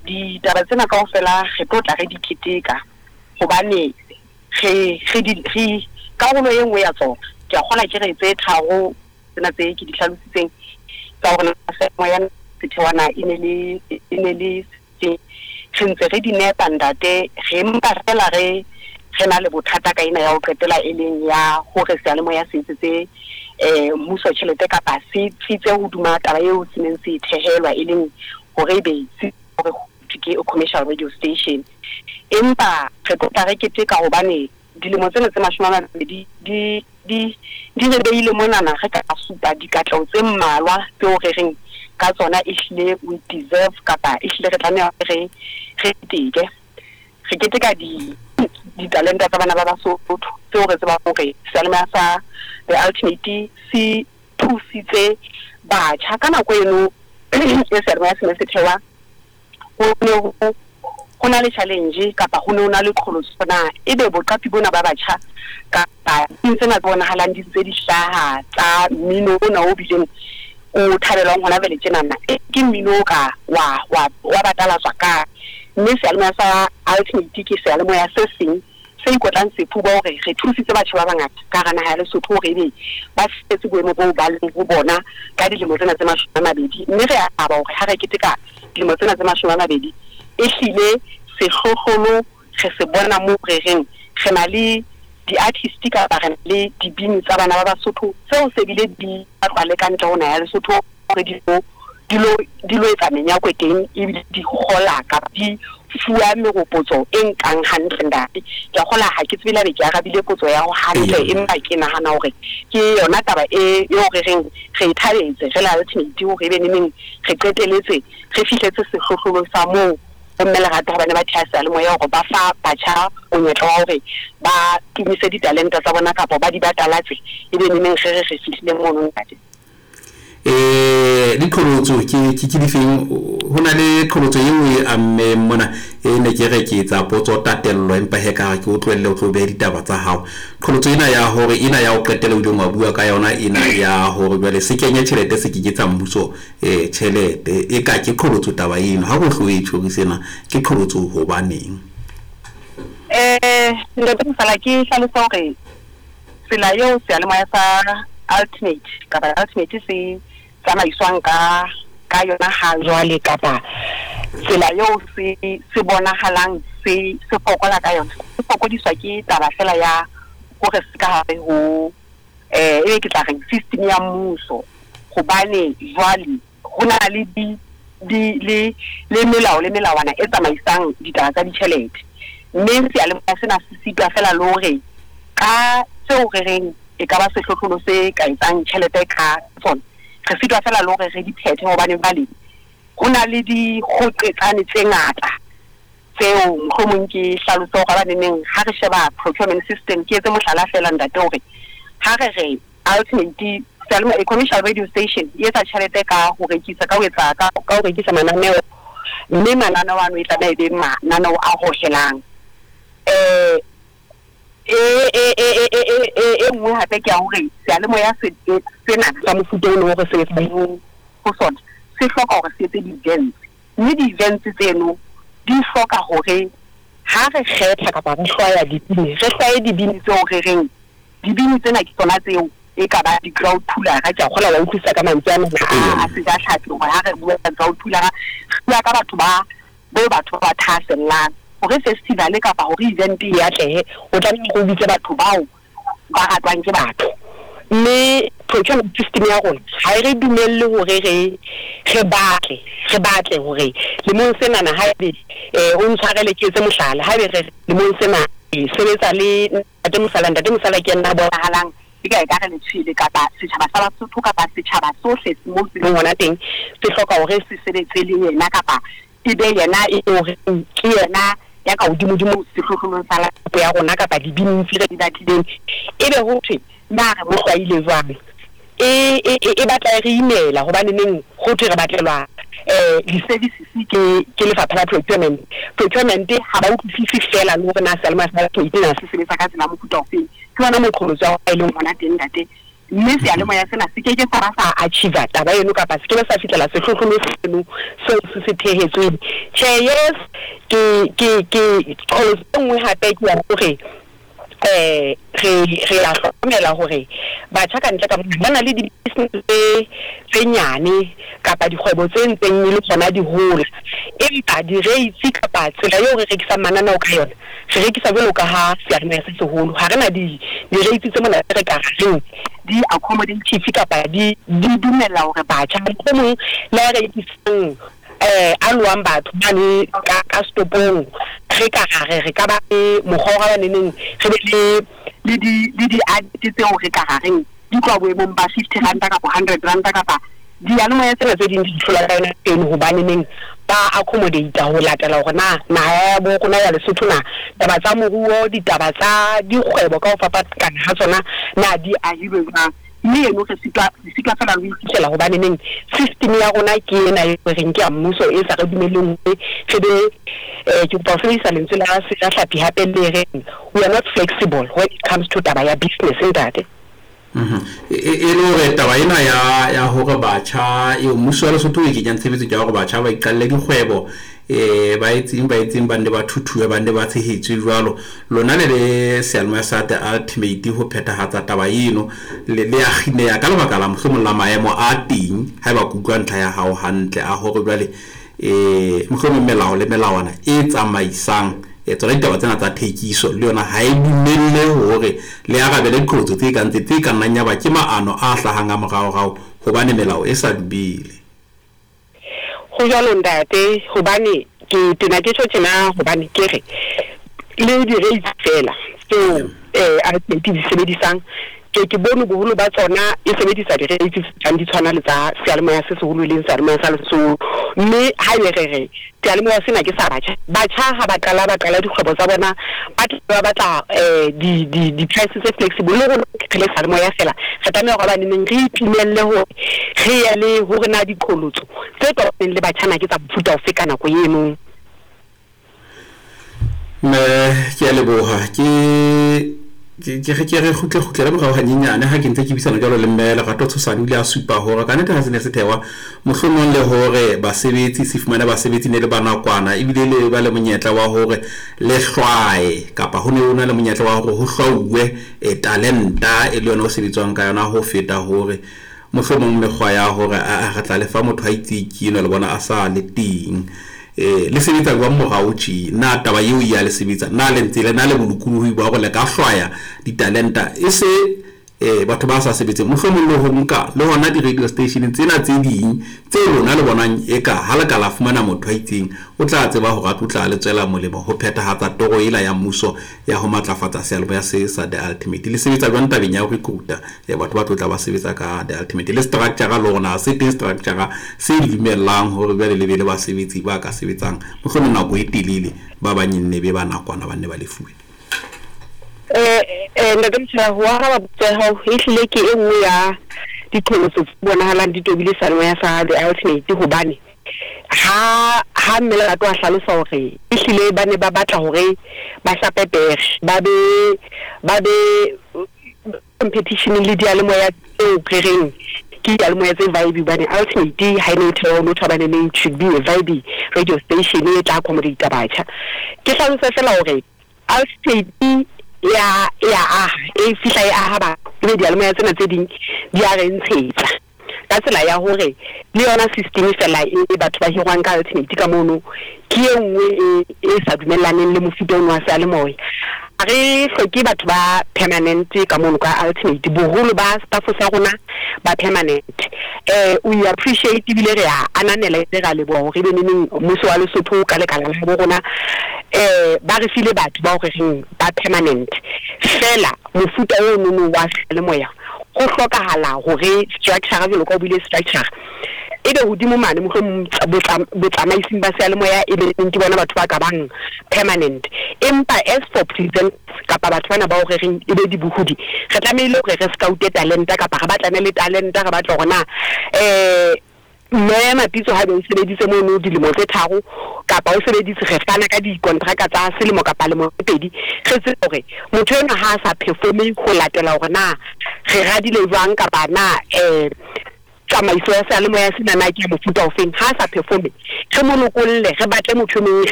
Ditaba tsena kaofela re tlo tla re di keteka hobane re re di re karolo e nngwe ya tsona, ke a kgolwa ke re tse tharo tsena tse ke di hlalositseng tsa hore na ya sethewana e ne le e ne le se re ntse re di nepa ntate, re mpa fela re re na le bothata ka ena ya ho qetela e leng ya hore seyalemoya se etsetse mmuso tjhelete kapa se tsitse hodima taba eo se neng se e thehelwa, e leng hore ebe se hore ke commercial radio station. Empa re tlo tla re keteka hobane dilemo tsena tse 20 di di di re beile monana re ka supa dikatleho tse mmalwa tseo re reng ka tsona ehlile we deserve kapa ehlile re tlameha re re keteke. Re keteka di ditalenta tsa bana ba Basotho tseo re tsebang hore seyalemoya sa The Ultimate se thusitse batjha. Ka nako eno e seyalemoya se ne se thewa, ho ne ho na le challenge kapa ho ne ho na le qholotso na ebe boqapi bona ba batjha kapa tsena tse bonahalang di ntse di hlaha tsa mmino ona o bileng o thabelwang hona jwale tjenana, ke mmino o ka wa wa wa batalatswa kae. Mme seyalemoya sa Ultimate ke seyalemoya se seng se ikotlang sefuba hore re thusitse batjha ba bangata ka hara naha ya Lesotho hore ebe ba fihletse boemo boo ba leng ho bona ka dilemo tsena tse 20. Mme re a thaba hore ha re keteka dilemo tsena tse 20, ehlile sehlohlolo re se bona moo re reng re na le di-artist kapa re na le dibini tsa bana ba Basotho tseo se bile di batlwa le ka ntle ho naha ya Lesotho hore di lo di lo di lo etsa menyakwe teng, ebile di kgola kapa di fuwa meropotso e nkang hantle ntate. Ke a kgola ha ke tsebe le haebe ke arabile potso ya hao hantle, empa ke nahana hore ke yona taba e eo re reng re e thabetse re le Ultimate hore ebe neneng re qeteletse re fihletse sehlohlolo sa moo bomme Lerato ha ba ne ba theha seyalemoya hore ba fa batjha monyetla wa hore ba tumise ditalenta tsa bona kapa ba di batalatse, ebe neneng re re re fihlile mono ntate. Diqholotso ke ke ke difeng? Ho na le qholotso e nngwe e ammeng mona e ne ke re ke etsa potso tatello, empa he ka re ke o tlohelle o tlo behe ditaba tsa hao. Qholotso ena ya hore ena ya ho qetela o ileng wa bua ka yona ena ya hore jwale se kenye tjhelete se ke ke tsa mmuso tjhelete, e ka ke qholotso taba eno. Ha ho hlo e tjhorise ena ke qholotso hobaneng? Ntate Mosala, ke hlalose hore tsela eo seyalemoya sa Ultimate kapa Ultimate se tsamaiswang ka ka yona ha jwale kapa tsela eo se se bonahalang se se fokola ka yona, se fokodiswa ke taba fela ya hore se ka hare ho ebe ke tla reng system ya mmuso. Hobane jwale ho na le di di le le melao le melawana e tsamaisang ditaba tsa ditjhelete, mme seyalemoya sena se sitwa fela le hore ka tseo re reng e ka ba sehlohlolo se ka etsang tjhelete ka tsona, re sitwa fela le hore re di phethe hobane jwale ho na le dikgoqetsane tse ngata tseo mohlomong ke hlalose hore habaneneng ha re sheba procurement system. Ke etse mohlala fela ntate hore ha re re Ultimate seyalemoya commercial radio station e etsa tjhelete ka ho rekisa ka ho etsa ka ho rekisa mananeo, mme mananeo ano e tlameha e be mananeo a hohelang. E nngwe hape ke ya hore seyalemoya se sena sa mofuta ono o re sebetsang ho sona se hloka hore se etse di-events, mme di-events tseno di hloka hore ha re kgetha kapa re hlwaya dibini, re hlwaye dibini tseo re reng dibini tsena ke tsona tseo e ka ba di-crowd puller. Ke a kgolwa wa utlwisisa ka mantswe ana a sejatlhapi hore ha re bua ka crowd puller re bua ka batho ba bo batho ba thahasellang hore festival kapa hore event e atlehe, o tlameha hore o bitse batho bao ba ratwang ke batho. Mme procurement system ya rona ha e re dumelle hore re re batle re batle hore lemong senana haebe o ntshwarele ke etse mohlala, haebe re lemong sena re sebetsa le ntate Mosala, ntate Mosala ke yena a bonahalang eka ekare letshwele kapa setjhaba sa Basotho kapa setjhaba sohle moo se leng hona teng se hloka hore se sebetse le yena kapa e be yena e hore ke yena ya ka hodimodimo sehlohlolong sa lapo ya rona kapa dibini tse re di batlileng, ebe ho thwe na re mo hlwaile jwang? E batla e re imela hobane neng ho thwe re batlelwa di-services ke ke lefapha la procurement. Procurement ha ba utlwisise fela le hore na seyalemoya sa na se sebetsa ka tsela ya mofuta ofeng. Ke yona moqholotso wa e leng hona teng ntate. Mme seyalemoya sena se keke sa ba sa achieve taba eno kapa se kebe sa fihlela sehlohlolo seno seo se se thehetsweng. Tjhe, yes, ke ke ke qholotso e nngwe hape ke ya hore re re a hlokomela hore batjha ka ntle ka mona ba na le di-business tse tse nyane kapa dikgwebo tse ntseng e le tsona di hola, empa di-rates kapa tsela eo re rekisang mananeo ka yona, re rekisa jwalo ka ha seyalemoya se seholo. Ha re na di di-rates tse mona tse re ka reng di accommodative kapa di di dumella hore batjha mohlomong le a rekisang a lowang batho mane ka ka setopong, re ka ra re re ka ba le mokgwa wa ba neneng re be le le di le di-advert tseo re ka ra reng di tloha boemong ba R50 kapa R100 kapa diyalemoya tsena tse ding di hlola ka yona eno, hobane neng ba accommodate ho latela hore na naha ya bo rona ya Lesotho na taba tsa moruo, ditaba tsa dikgwebo ka ho fapakana ha tsona na di ahilwe jwang. Mme eno re sitwa re sitwa feela le ho iphihlella hobane neng system ya rona ke ena e re reng ke ya mmuso e sa re dumelleng hore re be ke kopa ho sebedisa lentswe la sejahlapi hape le reng we are not flexible when it comes to taba ya business, ntate. E le hore taba ena ya ya hore batjha eo mmuso wa Lesotho o e kenyang tshebetsong ya hore batjha ba iqalle dikgwebo, ba etseng ba etseng, ba nne ba thuthuwe, ba nne ba tshehetswe jwalo, lona le le seyalemoya sa The Ultimate ho phethahatsa taba eno le le ya kgineha ka lebaka la mohlomong la maemo a teng, haeba ke utlwa ntlha ya hao hantle, a hore jwale mohlomong melao le melawana e tsamaisang tsona ditaba tsena tsa thekiso le yona ha e dumelle hore le arabele diqholotso tse kang tse tse ka nnang ya ba ke maano a hlahang a moraorao hobane melao e sa dumele. Ho jwalo ntate, hobane ke tena ke tjho tjena hobane ke re le di-rates fela tseo Ultimate di sebedisang, ke ke bone boholo ba tsona e sebedisa di-rates tse tlang di tshwana le tsa seyalemoya se seholo e leng seyalemoya sa Lesotho. Mme ha ebe re re seyalemoya sena ke sa batjha, batjha ha ba qala ba qala dikgwebo tsa bona, ba tla ba batla di di di-price tse flexible. Le rona re le seyalemoya fela re tlameha hore ba neneng re itumelle hore re ye le hore na diqholotso tse tobaneng le batjha na ke tsa mofuta ofe ka nako eno. Mme ke a leboha, ke ke re ke re kgutle kgutlele morao hanyenyane ha ke ntse ke buisana jwalo le mme Lerato Tshosane. O ile a supa hore ka nnete ha se ne se thehwa, mohlomong le hore basebetsi se fumane basebetsi ne le ba nakwana, ebile le ba le monyetla wa hore le hlwae kapa ho ne ho na le monyetla wa hore ho hlwauwe talenta e le yona ho sebetswang ka yona, ho feta hore mohlomong mekgwa ya hore a re tla lefa motho a itse ke enwa le bona a sa le teng. Le sebetsa jwang morao tje? Na taba eo ya le sebetsa? Na le ntse le na le bolokolohi ba hore le ka hlwaya ditalenta e se batho ba sa sebetseng, mohlomong le ho nka le hona di-radio station tsena tse ding tse lona le bonang eka ha le ka la fumana motho a itseng o tla tseba hore a tlo tla le tswela molemo ho phethahatsa toro ela ya mmuso ya ho matlafatsa seyalemoya se sa The Ultimate? Le sebetsa jwang tabeng ya ho recruita batho ba tlo tla ba sebetsa ka The Ultimate? Le structure le hore na se teng structure se dumellang hore jwale le be le basebetsi ba ka sebetsang mohlomong nako e telele, ba bang e nne be ba nakwana, ba nne ba lefuwe? Ntate Motshela, ho araba potso ya hao, ehlile ke e nngwe ya diqholotso tse bonahalang di tobile seyalemoya sa The Ultimate, hobane ha ha mme Lerato a hlalosa hore ehlile ba ne ba batla hore ba hlape pere, ba be competition le diyalemoya tseo re reng ke diyalemoya tse vibe, hobane Ultimate ha e ne e thewa ho thwa baneneng it should be a vibe radio station e tla accommodate batjha. Ke hlalose fela hore Ultimate ya ya aha e fihla e aha batho, ebe diyalemoya tsena tse ding di a re ntshetsa ka tsela ya hore le yona system fela e batho ba hirwang ka Ultimate ka mono ke e nngwe e sa dumellaneng le mofuta ono wa seyalemoya. Ha re hloke batho ba permanent ka mono ka Ultimate, boholo ba staff sa rona ba permanent. We appreciate ebile re a ananela, ebile re a leboha hore ebe neneng mmuso wa Lesotho ka lekala la bo rona ba re file batho ba hore reng ba permanent fela. Mofuta ono wa seyalemoya ho hlokahala hore structure, jwalo ka o buile, structure ebe hodimo mane mohlomong botsamaising ba seyalemoya, ebe ke bona batho ba ka bang permanent. Empa as for present kapa batho bana ba hore reng ebe dibohodi, re tlamehile hore re scoute talenta kapa re batlane le talenta, re batla hore na Mme Mapitso ha be o sebeditse mono dilemo tse 3 kapa o sebeditse, re fana ka dikontraka tsa selemo kapa lemo tse 2, re tsebe hore motho enwa ha a sa performe ho latela hore na re radile jwang kapa na tsamaiso ya seyalemoya sena na ke ya mofuta ofeng. Ha a sa performe, re mo lokolle, re batle motho e mong.